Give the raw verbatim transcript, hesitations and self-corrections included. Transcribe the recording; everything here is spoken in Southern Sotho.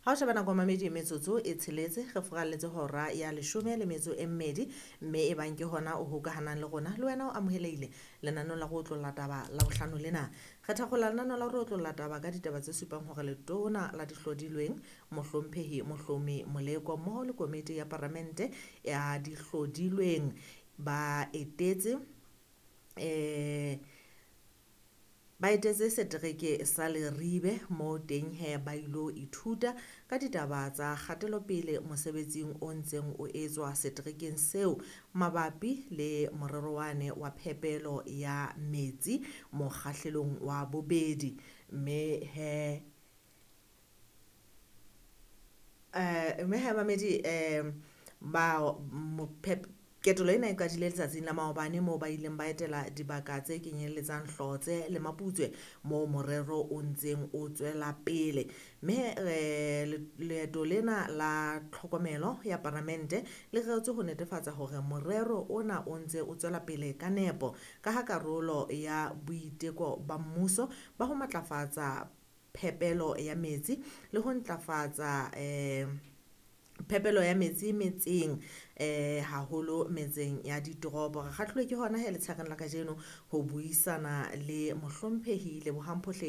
Ha o sheba nako mamedi metsotso e tsheletse re furalletse hora ya leshome le metso e mmedi, mme e bang ke hona o hokahanang le rona le wena o amohelehile lenaneong la go otlolla taba la bohlano lena. Re thakgola lenaneo la go otlolla taba ka ditaba tse supang hore letona la dihlodilweng mohlomphehi Mohlomi Moleko mmoho le komiti ya paramente ya dihlodilweng ba etetse eh ba etetse setereke sa Leribe moo teng he ba ilo ithuta ka ditaba tsa kgatelopele mosebetsing o ntseng o etswa seterekeng seo mabapi le morero wane wa phepelo ya metsi mokgahlelong wa bobedi. Mme he eh mme he mamedi eh ba mophep ketelo ena e qadile letsatsing la maobane moo ba ileng ba etela dibaka tse kenyelletsang Hlotse le Maputswe moo morero o ntseng o tswela pele. Mme eh leeto lena la tlhokomelo ya paramente le reretswe ho netefatsa hore morero ona o ntse o tswela pele ka nepo ka ha karolo ya boiteko ba mmuso ba ho matlafatsa phepelo ya metsi le ho ntlafatsa eh phepelo ya metsi metseng eh haholo metseng ya ditoropo. Re kgahlilwe ke hona he letshareng la kajeno ho buisana le mohlomphehi Lebohang Phohleng.